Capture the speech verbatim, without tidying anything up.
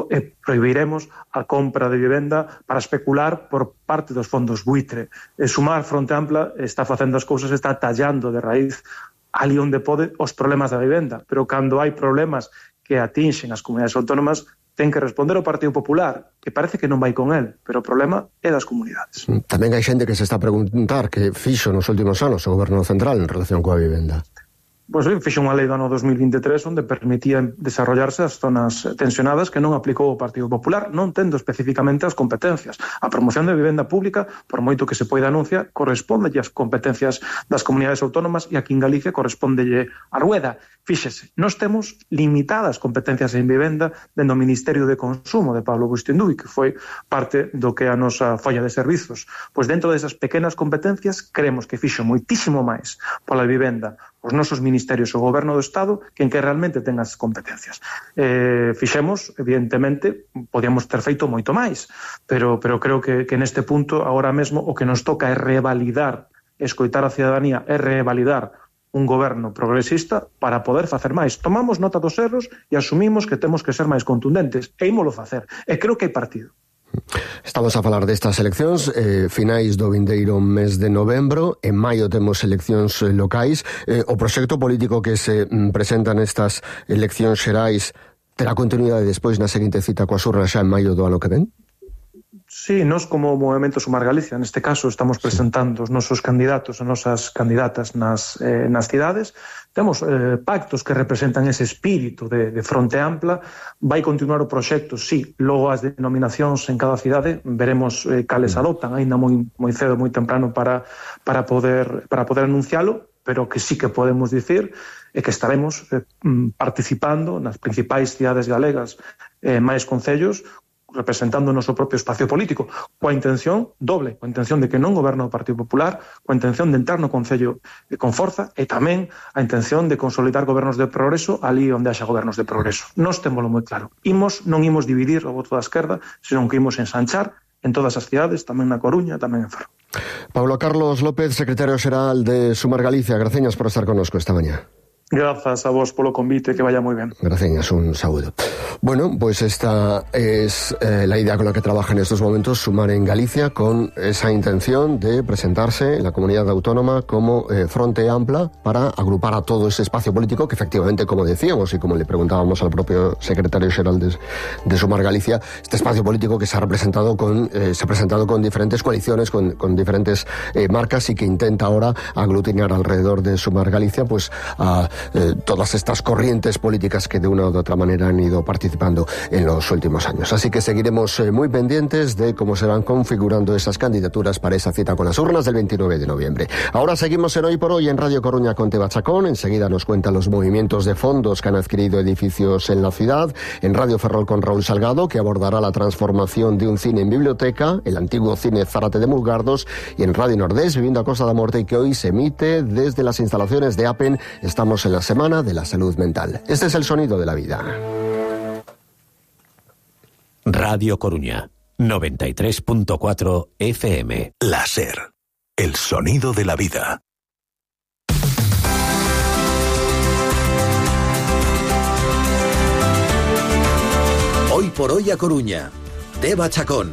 e prohibiremos a compra de vivenda para especular por parte dos fondos buitre. E Sumar Fronte Ampla está facendo as cousas, está tallando de raíz ali onde pode os problemas da vivenda, pero cando hai problemas que atinxen as comunidades autónomas, ten que responder o Partido Popular, que parece que non vai con el, pero o problema é das comunidades. Tamén hai xente que se está a preguntar que fixo nos últimos anos o Goberno Central en relación coa vivenda. Pois ben, fixo unha lei do ano dos mil vinte e tres onde permitía desarrollarse as zonas tensionadas que non aplicou o Partido Popular, non tendo especificamente as competencias. A promoción de vivenda pública, por moito que se poida anunciar, corresponde as competencias das comunidades autónomas e aquí en Galicia correspondelle a Rueda. Fíxese, nós temos limitadas competencias en vivenda dentro do Ministerio de Consumo de Pablo Bustinduy, que foi parte do que é a nosa folla de servizos. Pois dentro desas pequenas competencias creemos que fixo moitísimo máis pola vivenda os nosos ministerios o Goberno do Estado que en que realmente ten as competencias. Eh, fixemos, evidentemente, podíamos ter feito moito máis, pero, pero creo que, que neste punto, agora mesmo, o que nos toca é revalidar, escoitar a cidadanía, é revalidar un goberno progresista para poder facer máis. Tomamos nota dos erros e asumimos que temos que ser máis contundentes, e ímolo facer. E creo que hai partido. Estamos a falar destas eleccións eh, finais do vindeiro mes de novembro. En maio temos eleccións eh, locais. eh, O proxecto político que se mm, presenta nestas eleccións xerais terá continuidade despois na seguinte cita coas urnas xa en maio do ano que ven? Sí, nós como Movemento Sumar Galicia, neste caso, estamos presentando os nosos candidatos, as nosas candidatas nas, eh, nas cidades. Temos eh, pactos que representan ese espírito de, de Fronte Ampla. Vai continuar o proxecto, sí, logo as denominacións en cada cidade, veremos eh, cales adoptan, ainda moi, moi cedo, moi temprano para, para, poder, para poder anuncialo, pero que sí que podemos dicir é que estaremos eh, participando nas principais cidades galegas, eh, máis concellos, representando o noso propio espacio político, coa intención doble, coa intención de que non goberna o Partido Popular, coa intención de entrar no Concello con forza e tamén a intención de consolidar gobernos de progreso ali onde haxa gobernos de progreso. Nós témolo moi claro. Imos, non imos dividir o voto da esquerda, senón que imos ensanchar en todas as cidades, tamén na Coruña, tamén en Ferrol. Pablo Carlos López, secretario xeral de Sumar Galicia, graciñas por estar connosco esta mañá. Grazas a vos polo convite, que vaya moi ben. Gracias, un saúdo. Bueno, pues esta es eh, la idea con la que trabaja en estos momentos Sumar en Galicia, con esa intención de presentarse en la comunidad autónoma como eh, Fronte Ampla para agrupar a todo ese espacio político que efectivamente, como decíamos y como le preguntábamos al propio secretario xeral de, de Sumar Galicia, este espacio político que se ha representado con, eh, se ha presentado con diferentes coaliciones, con, con diferentes eh, marcas y que intenta ahora aglutinar alrededor de Sumar Galicia, pues a Eh, todas estas corrientes políticas que de una u otra manera han ido participando en los últimos años. Así que seguiremos eh, muy pendientes de cómo se van configurando esas candidaturas para esa cita con las urnas del veintinueve de noviembre. Ahora seguimos en Hoy por Hoy en Radio Coruña con Teba Chacón. Enseguida nos cuentan los movimientos de fondos que han adquirido edificios en la ciudad. En Radio Ferrol con Raúl Salgado, que abordará la transformación de un cine en biblioteca, el antiguo cine Zárate de Mulgardos. Y en Radio Nordés, Viviendo a Costa da Morte, que hoy se emite desde las instalaciones de APEN. Estamos en la Semana de la Salud Mental. Este es el sonido de la vida. Radio Coruña, noventa y tres punto cuatro F M. La SER, el sonido de la vida. Hoy por Hoy a Coruña, Teba Chacón.